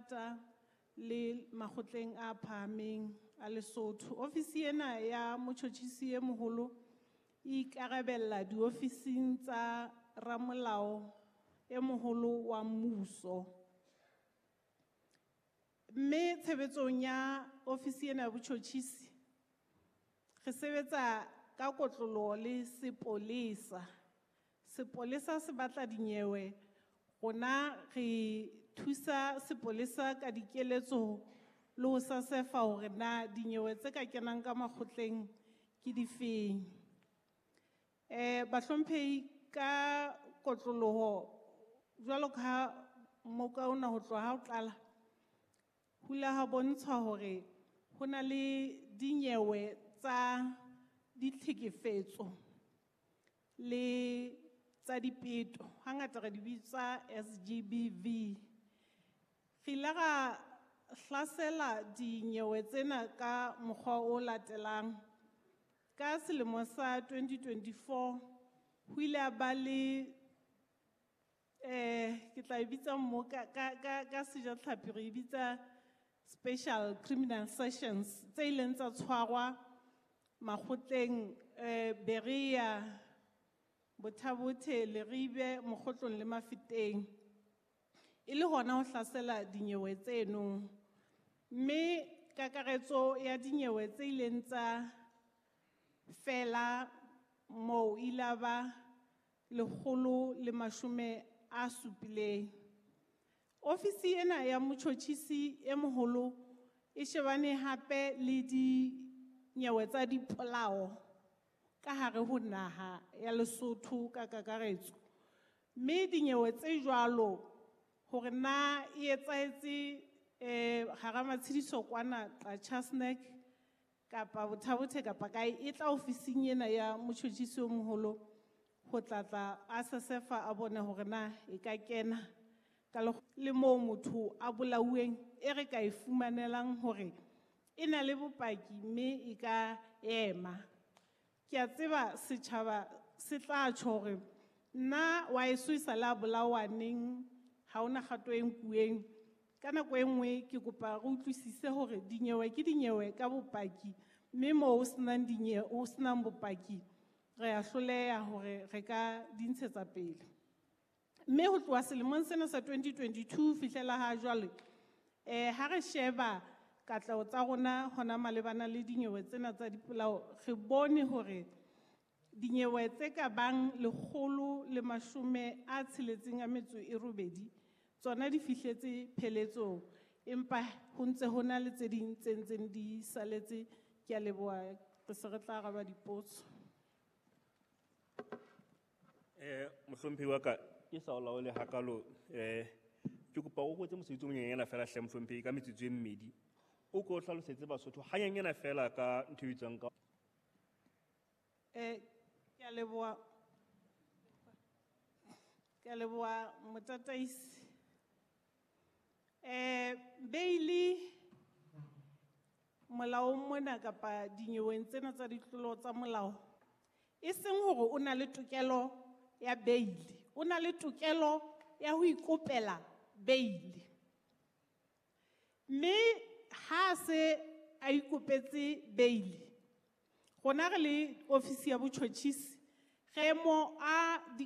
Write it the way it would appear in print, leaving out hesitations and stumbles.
thata le makgotleng a phahameng a Lesotho. Ofisi ena ya motjhotjhisi e moholo e ikarabella diofising tsa ramolao e moholo wa mmuso. Mme tshebetsong ya ofisi ena ya botjhotjhisi re sebetsa ka kotloloho le sepolesa. Sepolesa se batla dinyewe, rona re thusa sepolesa ka dikeletso le ho sasefa hore na dinyewe tse ka kenang ka makgotleng ke difeng. Bahlomphehi ka kotloloho jwalo ka ha moka ona ho tloha ha o qala, ho ile ha bontshwa hore ho na le dinyewe tsa ditlhekefetso le tsa dipeto, hangata re di bitsa SGBV. Re ile ra hlasela dinyewe tsena ka mokgwa o latelang. Ka selemo sa 2024 ho ile ha ba le ke tla e bitsa mo ka sejatlhapi re e bitsa special criminal sessions tse ileng tsa tshwarwa makgotleng Berea, Botha-Bothe, Leribe, Mokhotlong le Mafeteng. E le hona ho hlasela dinyewe tseno. Mme kakaretso ya dinyewe tse ileng tsa fela moo ile ba 170. Ofisi ena ya motjhotjhisi e moholo e shebane hape le dinyewe tsa dipolao ka hare ho naha ya Lesotho ka kakaretso. Mme dinyewe tse jwalo hore na e etsahetse hara matshediso kwana Qacha's Nek kapa Botha-Bothe kapa kae, e tla ofising ena ya motjhotjhisi o moholo ho tlatla a sesefa a bone hore na e ka kena ka le moo motho a bolauweng e re ka e fumanelang hore e na le bopaki mme e ka ema. Ke a tseba setjhaba se tla tjho hore nna wa eso e sale a bolawa neng, ha hona kgato e nkuweng. Ka nako e nngwe ke kopa re utlwisise hore dinyewe ke dinyewe ka bopaki, mme moo ho senang dinyewe, ho senang bopaki, re a hloleha hore re ka di ntshetsa pele. Mme ho tloha selemong sena sa 2022 fihlela ha jwale, ha re sheba katleho tsa rona hona malebana le dinyewe tsena tsa dipolao, re bone hore dinyewe tse ka bang 168 tsona di fihletse pheletsong, empa ho ntse ho na le tse ding tse ntseng di saletse. Ke a leboha, re se re tla araba dipotso. Mohlomphehi wa ka, ke sa o laole hakalo, ke kopa o kwetse mosebetsi o monyenyana fela hle mohlomphehi ka metsotso e mmedi. O ko hlalosetse Basotho hanyenyana fela ka ntho e bitswang ka Ke a leboha. Ke a leboha motataisi. Beili molaong mona kapa dinyeweng tsena tsa ditlolo tsa molao, e seng hore o na le tokelo ya beili, o na le tokelo ya ho ikopela beili. Mme ha se a ikopetse beili, rona re le ofisi ya botjhotjhisi, re mo a di